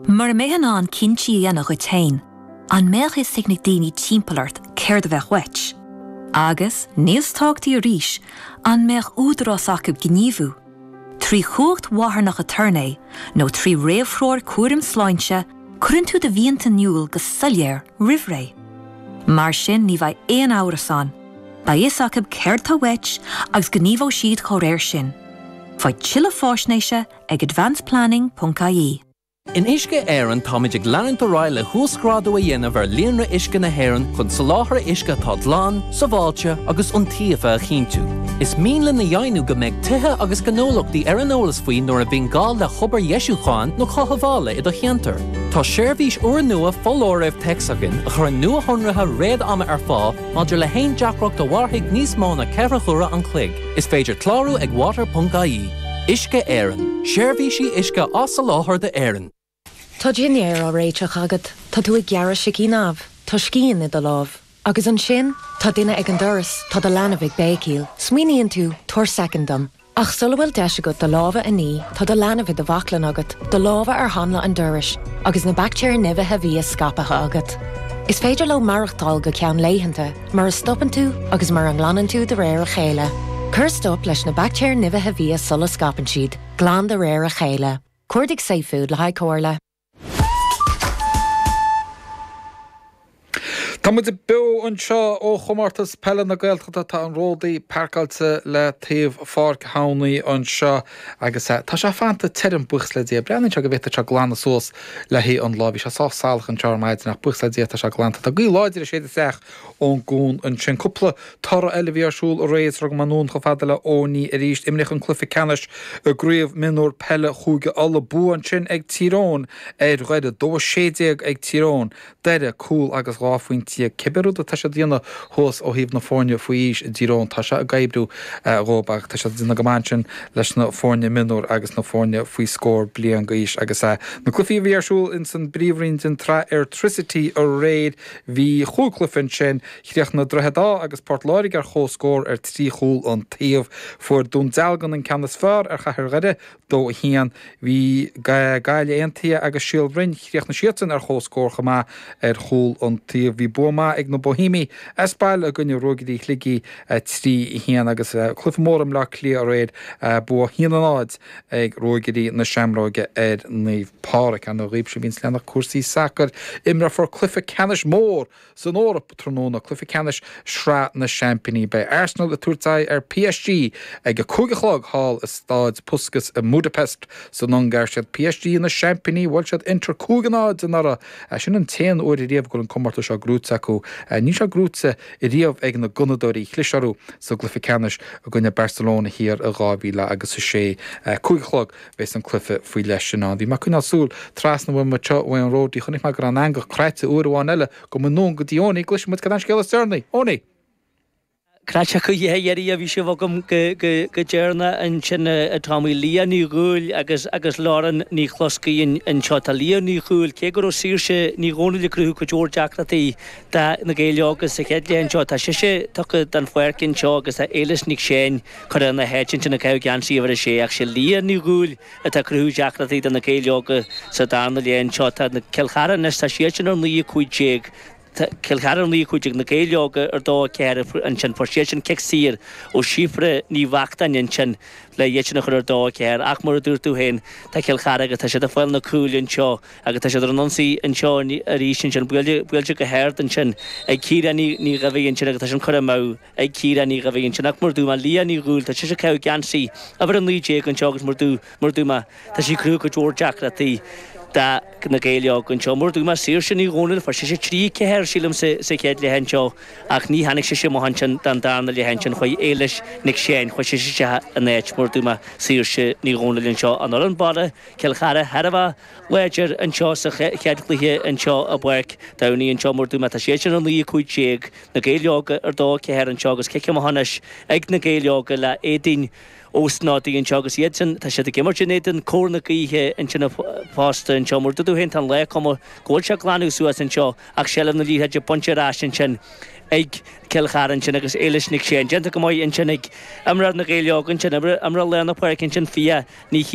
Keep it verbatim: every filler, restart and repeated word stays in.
Mura mbeifeá in ann cinntí a dhéanamh duit féin, an mbeadh fhios ag na daoine timpeall ort céard a bheadh uait. Agus níos tábhachtaí arís an mbeadh údarás acu gníomhú. Trí chumhacht mharthanach aturnae nó trí réamhthreoir cúraim sláinte, cuireann tú do mhianta in iúl go soiléir roimh ré. Mar sin ní bheidh aon amhras ann, Beidh fhios acu céard atá uait agus gníomhóidh siad dá réir sin. Faigh tuilleadh faisnéise ag advanceplanning.ie. In Uisce Éireann táimid ag leanúint ar aghaidh le huasghrádú a dhéanamh ar líonra uisce na hÉireann chun soláthar uisce atá glan, sábháilte agus iontaofa a chinntiú. Is mian linn a dheimhniú go mbeidh tithe agus gnólachtaí ar an eolas faoi nuair a bhíonn gá le hobair dheisiúcháin nó cothabhála i do cheantar. Tá seirbhís úrnua foláirimh téacs againn a chuireann nuashonruithe réad-ama ar fáil maidir le haon deacracht a mhairfidh níos mó ná ceithre huaire an chloig. Is féidir clárú ag water.ie. Uisce Éireann, seirbhísí uisce á soláthar d'Éirinn. Tá dinnéar á réiteach agat, Tá tú ag gearradh sicín amh, Tá scian i do lámh. Agus ansin tá duine ag an doras tá do leanbh ag béicíl, Smaoiníonn tú tabhair soicind dom. Ach sula bhfuil deis agat do lámha a ní tá do leanbh i do bhaclainn agat, do lámha ar hanla an dorais, agus na baictéir nimhithe bia scaipthe agat. Is féidir leo maireachtáil go ceann laethanta, mura stopann tú agus mura nglanann tú de réir a chéile. Cuir stop leis na baictéir nimhithe bia sula scaipeann siad, glan de réir a chéile. Cuardaigh Safefood le haghaidh comhairle. Tá muid beo anseo ó chomórtas peile na Gaeltachta tá an Ródaí páirceáilte le taobh Pháirc Thamhnaí anseo agus eh, tá sé fanta tirim buíochas le Dia. Breathnaíonn sé go bhféadfadh sé glanadh suas le haghaidh an lá. Bhí sé sách salach anseo ar maidin ach buíochas le Dia tá sé glanta. Tá gaoth láidir ag séideadh isteach ón gcuan ansin. Cúpla toradh eile bhí ar siúl aréir rug anonn chomh fada le Owenie arís imríodh an cluiche ceannais i gcraobh mionúr peile Chúige Uladh bua ansin ag Tír Eoghain ar Dhoire dó sé déag ag Tír Eoghain Doire cúl agus dhá phointe cibé rud atá siad déanamh thuas ó thaobh na foirne faoi aois i dTír Eoghain tá sé ag oibriú dhóibh ach tá siad déanamh go maith ansin leis na foirne mionúr agus na foirne faoi scór bliain d'aois agus na cluichí a bhí ar siúl in san bpríomhroinn den tsraith Airtricity aréir bhí chúig chluiche ansin chríochnaigh Droichead Átha agus Port Láirge ar chomhscór ar trí chúl an taobh fuair Dún Dealgan an ceann is fearr ar Chathair Dhoire dó a haon bhí Gaillimh Aontaithe agus Síol Bhroin chríochnaigh siadsan ar chomhscór chomh maith ar chúl an taobh bhí bua maith ag na Bohemiaigh as baile i gcoinne Ruagairí Shligigh trí a haon agus cluiche mór i mBleá Cliath aréir bua haon a náid ag Ruagairí na Seamróige ar Naomh Pádraig an ghaoib se bhíonn leanach cúrsaí sacair imreofar cluiche ceannais mór san Eoraip tráthnóna cluiche ceannais Sraith na Seaimpíní Beidh Arsenal ag tabhairt aghaidh ar PSG ag a cúig a chlog thall i Staid Puskas i Budapest san Ungáir siad PSG na seaimpíní bhuail siad Inter cúig a náid anuraidh sin an t-aon uair riamh go bhfuil an comórtas seo gnóite acu níl sé gnóite riamh ag na Gunnadóirí chlis orthu sa gcluiche ceannais i gcoinne Barcelona thiar i dhá mhíle agus a sé cúig a chlog bheas an cluiche faoi leith sin ann. Bhí mé ag coinneáil súil trasna uaim anseo uaidh an Ródaí chonaic mé go raibh an eangach cráite uair amháin eile go mba go dtí Owenie gcloisfidh muid cad é an scéal is deireanaí. Owenie! Cráite go dhéirí a bhí sé agam go deireanach ansin tá Lia Ní Dhúill agus agus Lauren Ní Chloscaí anseo tá Lia Ní Dhúill cé go raibh Saoirse Ní Dhomhnaill ag cruthú cuid mhór deacrachtaí do na Gaeil Óga sa chéad leath anseo tá sise tugtha den pháirc anseo agus tá Éilis Nic Séin curtha ina háit ansin ag caitheamh geansaí uimhir a sé ach sé Lia Ní Dhúill atá cruthú deacrachtaí do na Gaeil Óga sa darna leath anseo tá na Cill Chartha anois tá siad sin ar naoi cúig déag Cill Chartha ar naoi cúig déag na Gaeil Óga ar dó ceathair ansin fuair siad sin cic saor ó Síofra Ní Bheachtáin ansin le iad sin a chur ar dó ceathair ach mar a dúirt tú féin tá Cill Chartha agus tá siad ag fáil na cúil anseo agus tá siad ar an ionsaí anseo arís ansin buailte buailte go hard ansin ag Ciara Ní Ní Dhuibhigh ansin agus tá sin curtha amú ag Ciara Ní Dhuibhigh ansin ach mar dúirt mé Lia Ní Dhúill tá sise ag caitheamh geansaí uimhir a naoi déag anseo agus mar dú mar dúirt mé tá sí cruthú cuid mhór deacrachtaí do na Gaeil Óga anseo mar dúirt mé Saoirse Ní Dhomhnaill fuair sise trí ceathair sílim sa sa chéad leath anseo ach ní tháinig sise amach ansin don darna leath ansin chuaigh Éilis Nic Séin chuaigh sise isteach ina áit mar dúirt mé Saoirse Ní Dhomhnaill anseo an fhoireann baile Cill Chartha thar a bheith láidir anseo sa chéad chluiche anseo i bPáirc Domhnaigh anseo mar dúirt mé tá siad sin ar naoi cúig déag na Gaeil Óga ar dó ceathair anseo agus cic amach anois ag na Gaeil Óga le Éadaoin Ó Snodaigh anseo agus iad sin tá siad ag imirt in éadan cóir na gaoithe ansin fosta anseo mar dúirt tú féin tá an lá cuma go bhfuil sé glanadh suas anseo ach seilbh na liathróide bainte ar ais ansin ag Cill Chartha ansin agus Éilis Nic Séin déanta go maith ansin ag imreoir na Gaeil Óga ansin imreoir lár na páirce ansin Fia Ní